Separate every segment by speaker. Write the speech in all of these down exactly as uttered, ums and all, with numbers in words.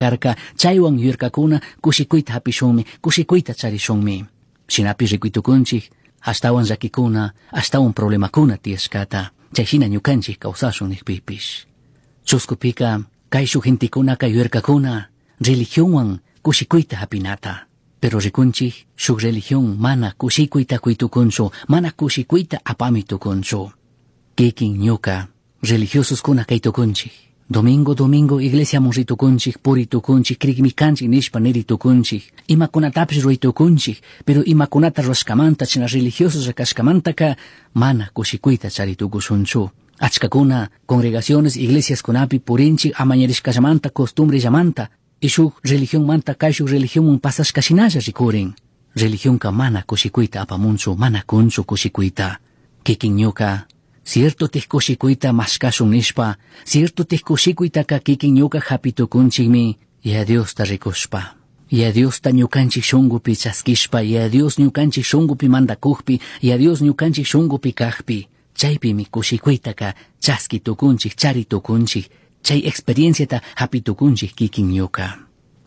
Speaker 1: Karka chaywan yuyarkakuna kushikuyta hapishunmi, kushikuyta charishunmi. Shinapish rikuytukunchik ashtawan llakikuna, ashtawan problemakuna tiyashkata, chayshina ñukanchik kawsashun nikpipish. Chuskupika kayshuk gentekunaka yuyarkakuna religionwan kushikuyta hapinata. Pero rikunchik shuk religión mana kushikuyta kuytukunchu, mana kushikuyta apami tukunchu. Kikin ñuka religiososkuna kaytukunchik. Domingo domingo iglesiaman ritukunchik, puritukunchik, crikmi kanchik nishpa niritukunchik, imakunatapish ruraytukunchik, pero imakunata rurashkamanta china religiosos kashkamantaka mana kushikuyta charitukushunchu. Achkakuna congregaciones iglesiaskunapi purinchik amañarishkallamanta costumbrellamanta y shuk religionmanta kayshuk religionman pasashkashinalla rikurin. Religionka mana kushikuyta apamunchu, mana kunchu kushikuyta. Kikin ñuka cierto tik kushikuyta mashkashun nishpa, cierto tik kushikuytaka kikin ñuka hapitukunchikmi, Yaya Diosta rikushpa. Yaya Diosta ñukanchik shunkupi chaskishpa, Yaya Dios ñukanchik shunkupi mandakukpi, Yaya Dios ñukanchik shunkupi kajpi, chaypimi kushikuytaka chaski tukunchik, chari tukunchik, chay experienciata hapitukunchik kikin ñuka.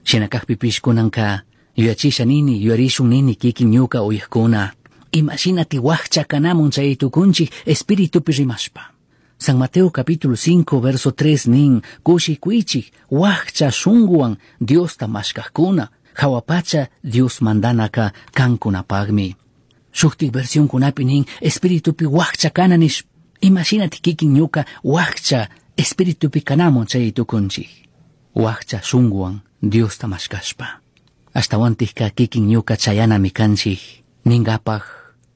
Speaker 1: Shina kajpipish kunanka yuyachisha nini, yuyarishun nini kikin ñuka uyajkuna. Imashinati wakcha kanamun chay tukunchik espiritupi rimashpa. San Mateo capítulo cinco verso tres nin, kushikuychik wakcha shunguwan Diosta mashkajkuna, hawapacha Dios mandanaka kankunapagmi. Shuktik versionkunapi nin, espiritupi wakcha kana nish, imashinati kikin ñuka wakcha espiritupi kanamun chay tukunchik. Wakcha shunguwan Diosta mashkashpa. Ashtawantikka kikin ñuka chayanami kanchik, ningapaj,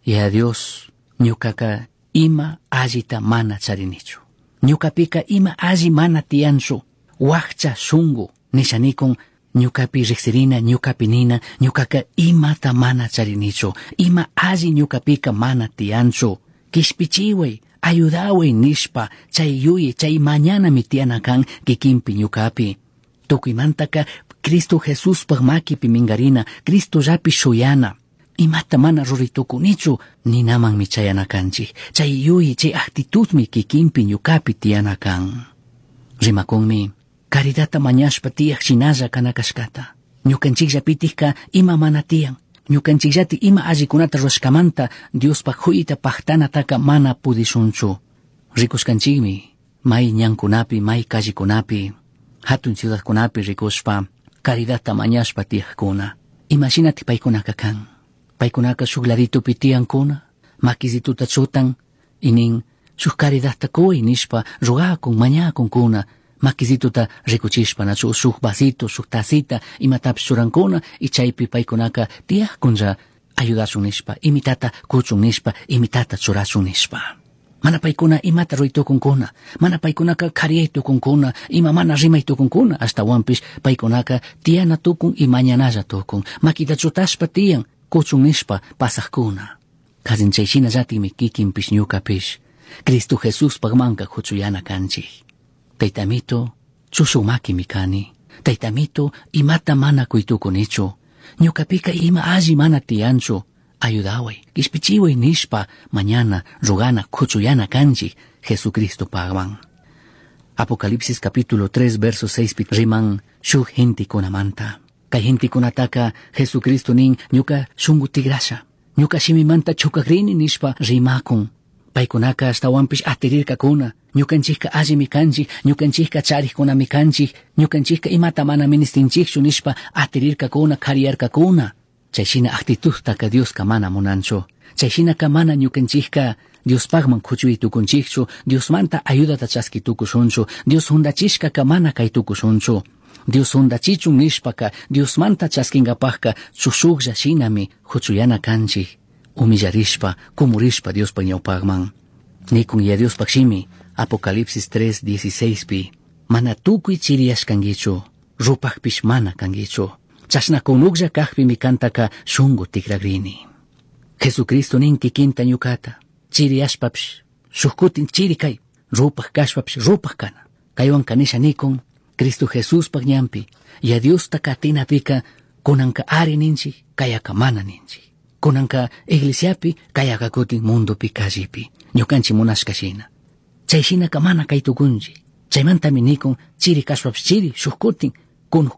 Speaker 1: Yaya Dios, ñukaka ima allita mana charinichu. Ñukapika ima alli mana tiyanchu. Wakcha shungu, nishanikun, ñukapi riksirina, ñukapi nina, ñukaka imata mana charinichu. Ima alli ñukapika mana tiyanchu. Kishpichiway, ayudaway nishpa, chay yuyi, chay mañanami tiyana kan kikinpi ñukapi. Tukuymantaka Cristo Jesuspaj makipi minkarina, Cristollapi shuyana. Imata mana ruraytukunichu ninamanmi chayana kanchik. Chay yuyi, chay actitudmi kikinpi ñukapi tiyana kan. Rimakunmi, caridadta mañashpa tiyaj shinalla kana kashkata. Ñukanchikllapitikka ima mana tiyan. Ñukanchikllati ima allikunata rurashkamanta Diospaj huyita pajtanataka mana pudishunchu. Rikushkanchikmi, may ñankunapi, may callekunapi, hatun ciudadkunapi rikushpa, caridadta mañashpa tiyajkuna. Imashinati paykunaka kan. Paykunaka shuk laditupi tiyankuna, makisituta chutan, y nin shuk caridadta kuy nishpa rogakun, mañakunkuna, makisituta rikuchishpa nachu shuk vasito, shuk tacita, imatapish churankuna, y chaypi paykunaka tiyajkunlla ayudashun nishpa, imitata kuchun nishpa, imitata churashun nishpa. Mana paykuna imata ruraytukunkuna, mana paykunaka kariyay tukunkuna, ima mana rimay tukunkuna, ashtawanpish paykunaka tiyana tukun y mañanalla tukun, makita chutashpa tiyan, kuchun nishpa pasajkuna. Kazin chay shinallatikmi kikinpish ñukapish, Cristo Jesuspaj manka huchuyana kanchik. Taytamito, chushuk makimi kani. Taytamito, imata mana kuytukunichu. Ñukapika ima alli mana tiyanchu. Ayudaway, kishpichiway nishpa mañana rogana kuchuyana kanchik Jesucristo pagman. Apocalipsis capítulo tres verso seis riman shuk gentekunamanta. Kay gentekunataka Jesucristo nin ñuka shungu tigrasha. Ñuka shimimanta chukakrini nishpa rimakun. Paykunaka ashtawanpish atirirkakuna. Ñukanchikka allimi kanchik, ñukanchikka charikkunami kanchik, ñukanchikka imata mana ministinchikchu nishpa atirirkakuna, kariyarkakuna. Chayshina actitudtaka Dioska mana munanchu. Chayshinaka mana ñukanchikka Diospajman kuchuy tukunchikchu, Diosmanta ayudata chaski tukushunchu, Dios hundachishkaka mana kay tukushunchu. Dios hundachichun nishpaka, Diosmanta chaskinkapajka chushuklla shinami huchuyana kanchik, humillarishpa, kumurishpa Diospa ñawpajman. Nikun ya Diospaj shimi, Apocalipsis tres dieciséis pi, mana tukuy chiriyashkankichu, rupajpish mana kankichu. Chashna kunuklla kajpimi kantaka shungu tikragrini. Jesucristo nin kikinta ñukata, chiriyashpapish, shuk kutin chiri kay, rupaj kashpapish rupaj kana. Kaywan kanisha nikun, Cristo Jesuspaj ñanpi, ya Diosta katinapika, kunanka ari ninchik, kayaka mana ninchik. Kunanka iglesiapi, kayaka kutin mundopi callepi, ñukanchik munashka shina. Chay shinaka mana kay tukunchik. Chaymantami nikun, chiri kashpapish chiri, shuk kutin, Cunuj